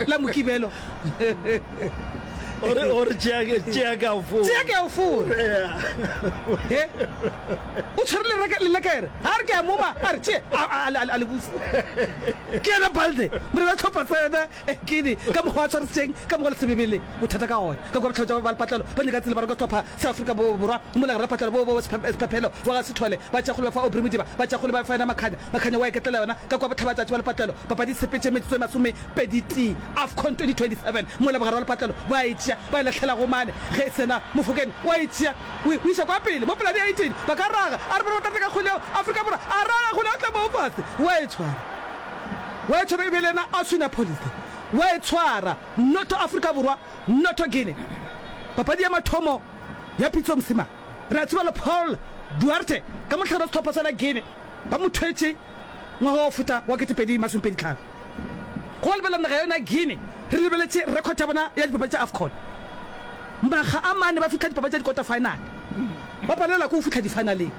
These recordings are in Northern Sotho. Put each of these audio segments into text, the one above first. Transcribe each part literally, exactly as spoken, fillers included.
La Mokibelo. O re o re tšea ke tšea ke a o fora. Tšea ke a o fora. He? O tshwere lereke lelekere. A re ke a moma, a re tšea a a a le busa. Ke yena Balde, morena tlhopha sa yena Guinea ka mokgwa a tshwarisitšeng ka mokgwa le sebebele bothata ka gona. Ka kua bohlabetša ba ba lepatlelo ba nyaka tsela ba reka sehlopha sa Afrika Borwa mola gare lepatlelo bo bo Sephephelo wa ga Sithole ba tšea kgole ba fa Aubrey Modiba ba tšea kgole ba fa yena Makhanya Makhanya wa iketlela yona ka kua bohlabatšatši ba lepatlelo papadi e sepetše metsotso e masomepedi tee Afcon twenty twenty seven mola bogare ba lepatlelo ba e tšea ba e lahlela go mane ge e sena Mofokeng wa e tšea o e iša kwa pele mo polane ya eighteen ba ka raga a re bona ba tlatla ka kgole yeo Afrika Borwa a raga kgole ya tla moo fase wa e tshwara wa e tshwara e be le yena a swina policy wa e tshwara noto Afrika Borwa noto Guinea papadi ya mathomo ya Pitso Mosima re a tseba le Paul Duarte ka mohlare wa sehlopha sa la Guinea ba mo thwetše ngwaga wa go feta wa ketepedi masomepedi tlhano. Go lebelela naga ya yona ya Guinea, re lebeletše record ya bona ya dipapadi tša AFCON. Makga a mane ba fihla dipapadi tša di-quarter final, ba palelwa ke go fihla di-finaleng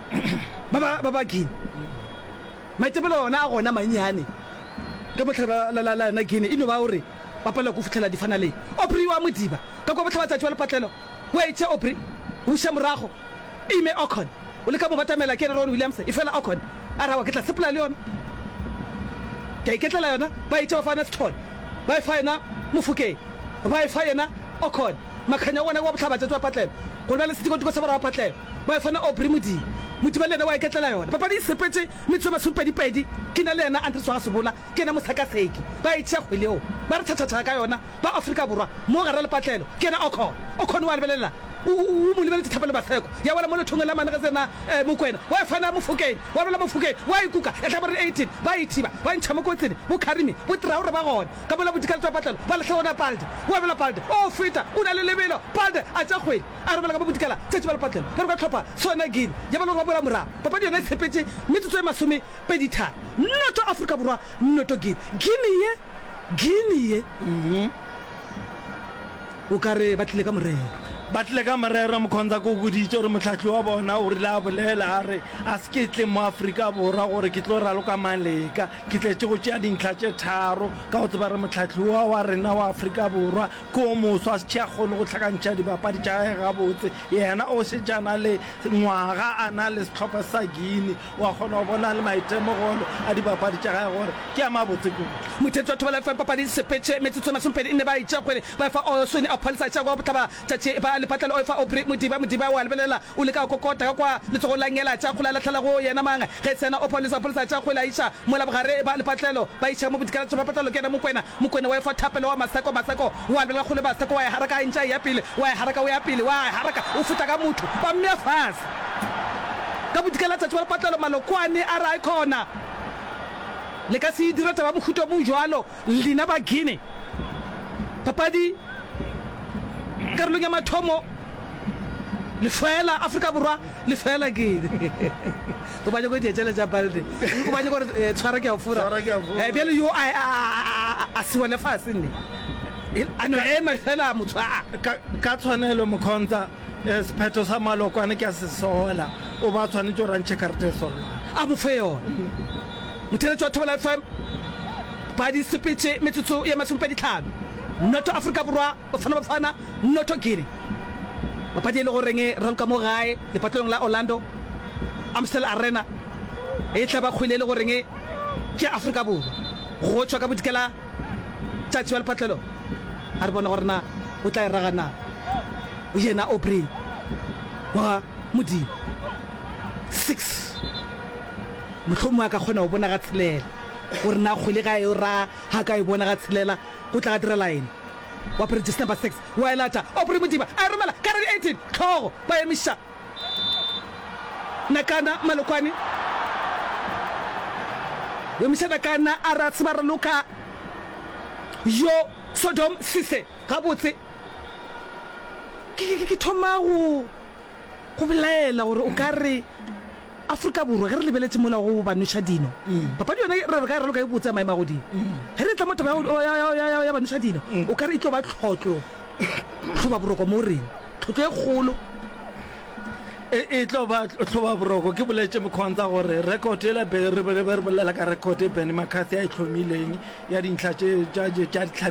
ba ba ba ba Guinea. Maitemogelo ona a gona mannyane ka mohlare la la la yona Guinea e no ba gore ba palelwa ke go fihlela di-finaleng. Aubrey wa Modiba ka kua bohlabatšatši wa lepatlelo o a etša Aubrey o buša morago Ime Okon o leka mo batamela ke yena Ron Williams, efela Okon a re awa ke tla sepela le yona. Ke a iketlela yona. Ba e tšea ba fa yena Sithole, ba e fa yena Mofokeng, ba e fa yena Okon. Makhanya o bona wa bohlabatšatši wa patlelo, gore bjale setikotiko sa borwa wa patlelo. Ba e fa yena Aubrey Modiba. Modiba le yena wa iketlela yona. Papadi e sepetše metsotso e masomepedipedi, ke na le yena Andries wa ga Sebola, ke yena mosakaseki. Ba e tšea kgwele yeo, ba re tšhatšhatšha ka yona. Ba Afrika Borwa mo gare lepatlelo ke yena Okon. Okon o a lebelela, o, o, o mo lebeletše Thapelo Maseko. Ya wela mo lethongeng la mane ge tsena eh, Mokwena. Wa e fana Mofokeng, wa wela Mofokeng, wa e kuka, ya hlabore eighteen. Ba e thiba, ba e ntšha mo kotsing. Bo Karimi, bo Traore ba gona. Ka mola bodikaletšo ba patlelo, ba lahla gona Palde. Wa wela Palde, o feta, o na le lebelo. Palde a tšea kgwele, a romela ka mo bodikela tšatši ba lepatlelo. Ba re ka hlopha sona Guinea, ya ba le gore ba boela morago. Papadi yona e tshepetše metsotso e masomepedi tharo. Noto Afrika Borwa, noto Guinea. Guinea ye. Guinea ye o ka re ba tlile ka morero. Ba tlile ka morero, Mkhonza ke o boditše gore mohlahli wa bona o rile a bolela a re, A se ke tle mo Afrika Borwa gore ke tlo raloka maleka, ke tletše go tšea dintlha tše tharo ka go tseba re mohlahli wa wa rena wa Afrika Borwa ke o moswa a se tšhe a kgone go hlakantšha dibapadi tša gage gabotse. Yena o šetše a na le ngwaga a na le sehlopha sa Guinea. O a kgona go bona le maitemogelo a dibapadi tša gage gore ke a mabotse kudu. Motheetši wa Thobela F M papadi sepetše metsotso e masomepedi nne ba itšea kgwele ba efa Oswin a pholisa tša kwa bohlaba tšatši ba lepatlelo o efa Aubrey Modiba Modiba o a lebelela o leka go kokota ka kwa letsogong la ngela tša kgwele a lahlela go yena mang ge tsena o pholisa pholisa tša kgwele a iša mola bogare ba lepatlelo ba iša mo bodikela tša patlelo ke yena Mokwena Mokwena wa efa Thapelo wa Maseko Maseko o a lebelela kgwele Maseko wa e haraka a ntše a eya pele wa e haraka o ya pele wa e haraka o feta ka motho ba mmea fase Ka bodikela tšatši wa lepatlelo Malokwane a re Aikhona le ka se e dire taba mohuta o bjalo lena ba Guinea. Papadi karolong ya mathomo lefeela Afrika Borwa lefeela Guinea. O ba nyako dietšele tša Balde. O ba nyako gore eh, tshwara ke a fora. Eh, bjale yo a a a se wele fase nne. A no ema fela motho a. Ka tshwanelo Mkhonza Sephetho sa Malokwane ke a se sola. O ba tshwanetše gore a ntšhe karata e solwana. A mo fe yona. Motheeletši wa Thobela F M, ba di sepetše metsotso ye masomepedi tlhano. Noto Afrika Borwa, Bafana Bafana, noto Guinea. Papadi e le goreng e raloka mo gae lepatlelong la Orlando Amstel Arena e tla ba kgwele e le goreng ke ya Afrika Borwa. Go tšwa ka bodikela tšatši wa lepatlelo a re bone gore na o tla e raga na. Yena Aubrey wa Modimo. Six. Mohlomongwe a ka kgona go bona ga tshelela gore na kgwele ga e ra ga ka e bona ga tshelela go tla ga direla eng. Wa apere jersey number six wa e lata. Aubrey Modiba a e romela ka radi eighteen tlhogo ba emiša Nakana Malokwane. O emiša Nakana a re a tseba raloka yo Sodom Sise gabotse. Ke, ke, ke thoma go, go belaela gore o ka re Afrika Borwa, ge re lebeletše mola go ba nweša dino, papadi yona re re ka e raloka e botse ya maemo a godimo. Ge re etla mo taba ya, ya, ya, ya, ya ba nweša dino, o ka re e tlo ba tlhotlo, tlhobaboroko mo rena, tlhotlo e kgolo. E, e tlo ba tlhobaboroko. Ke boletše Mkhonza gore record yela be re be re bolela ka record e Benny McCarthy a e hlomileng ya dintlha tše tša tša dihlabi.